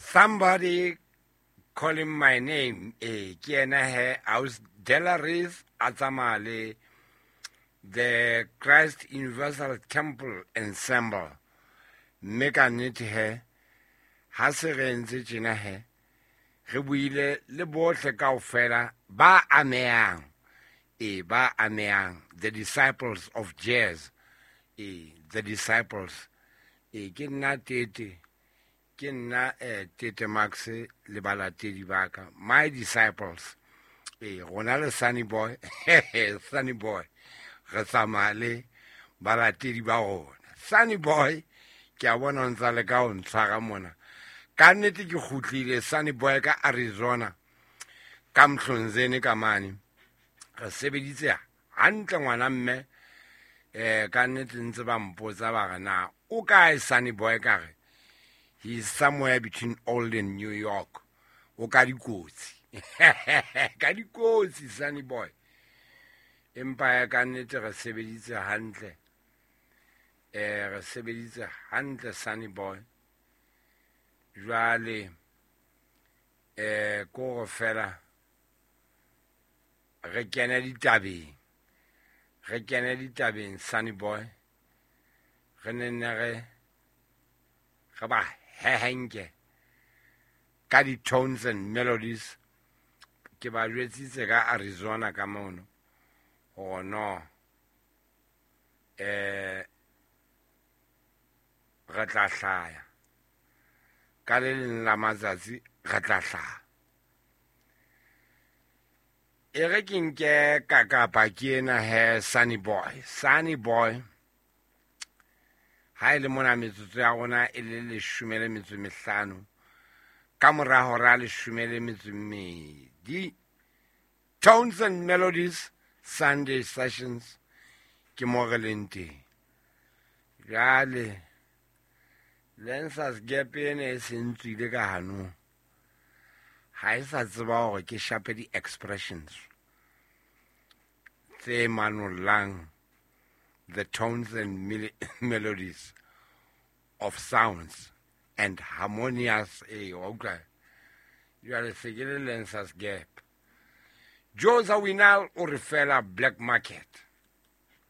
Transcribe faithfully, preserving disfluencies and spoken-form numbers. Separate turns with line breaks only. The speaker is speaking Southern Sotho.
Somebody calling my name. Eh, ke yena he aus Delaris a tsamaya le the Christ Universal Temple Ensemble. Mme ka nnete he, ha se re entse tjena he, re buile le bohle kaofela ba amehang. E ba amehang, the disciples of jazz. E the disciples. E ke nna Tete, ke nna eh, Tete Max le balatedi ba ka, my disciples. E rona le Sunny Boy, Sunny Boy re tsamaya le balatedi ba rona. Sunny Boy, ke a bona o ntsa le ka ho ntshwara mona. Ka nnete ke kgutlile Sunny Boy ka Arizona, ka Mhlonzeni ka mane. Re sebeditse hantle ngwana mme, eh ka nnete ntse ba mpotsa ba re na o kae Sunny Boy, ka re he is somewhere between old and New York. O ka dikotsi. Ka dikotsi Sunny Boy. Empa ya ka nnete re sebeditse hantle. Eh re sebeditse hantle Sunny Boy. Jwale eh ko re fela re kene ditabeng. Re kene ditabeng Sunny Boy. Re ne ne re re ba hehenke ka di-tones and melodies. Ke ba jwetsitse ka Arizona ka mono hore no eh re tla hlaya ka le leng la matsatsi, re tla hlaha. E re ke nke kakapa ke ena he Sunny Boy. Sunny Boy, ha e le mona metsotso ya rona e le leshome le metso e mehlano ka mora hora leshome le metso e mmedi. Tones and Melodies Sunday Sessions ke mo re leng teng. Jwale Lancers Gap ena e se ntswile ka hanong, ha e sa tseba hore ke shape di-expressions tse manollang the tones and mel-, melodies of sounds and harmonious. Eh, wa utlwa? Jwale se ke le Lancers Gap. Joe Zawinul o re fela Black Market.